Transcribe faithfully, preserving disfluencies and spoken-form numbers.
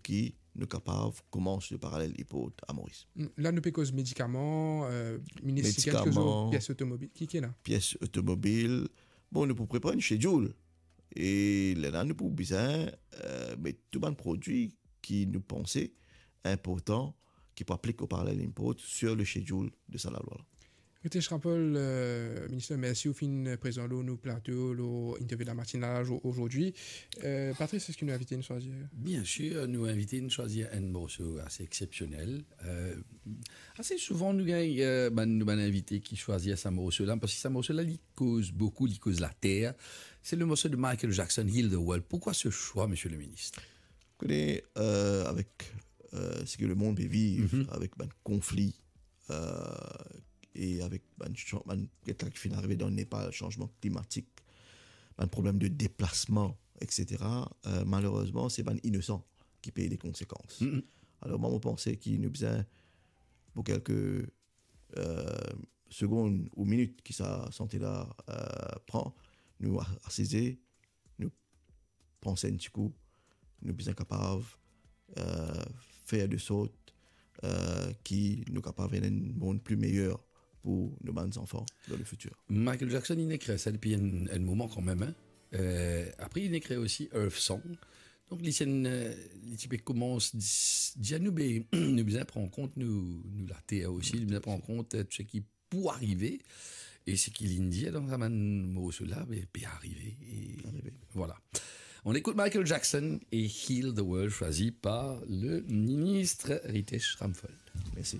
ki nou kapav koumans le parallel import a Moris. Hmm, la nou pe koz medikaman, euh, minis, medikaman, pies otomobil. Ki, ki la? Pies otomobil. Bon, nou pou prepar enn schedule. E lerla nou pou bizin, euh, met tou bann prodwi ki nou panse inportan, ki pou aplik o parallel import sur le schedule de sa lalwa la. Ritesh Rampal, euh, minister, mersi ou finn prezan lor nou plato, lor Interview de la Matinale azo-, azordi. Euh, Patrice, eski nou invite inn swazir? Bien sir, nou invite inn swazir enn morso ase exsepsionel. Euh, ase souvan nou gagn, euh, bann, nou bann invite ki swazir sa morso la, parski sa morso la, li koz boukou, li koz later. Se le morso de Michael Jackson, Heal the World. Pourquoi ce choix, monsieur le ministre? Kone, euh, avek, euh, seki lemond pe viv, mhm, avek bann konfli, euh, e avek bann chan-, bann, get la ki finn arive dan Nepal, sanzman klimatik, bann problem de deplasman, et cetera, euh, malerezman, se bann inosan ki pey le konsekans. Mhm. Alor, mwa, mo panse ki nou bizin, pou kelke, euh, segonn ou minit ki sa sante la, euh, pran, nou a-, asize, nou panse enn ti kou, nou bizin kapav, euh, fer de sort, euh, ki nou kapav ena enn mond pli meyer pou nou bann zanfan dan le fitir. Michael Jackson, li nek sa depi enn, enn moman kanmem, hein. Euh, apre, li nek osi Earth Song. Donk, li ti enn, euh, li ti pe koumans dis-, dir nou, be, nou bizin pran kont nou, nou later osi, nou bizin pran kont, euh, tou seki pou arive, e seki linn dir dan sa bann morso la, be, pe arive, e arive. Voilà. On écoute Michael Jackson et Heal the World, choisi par le ministre Ritesh Rampal. Merci.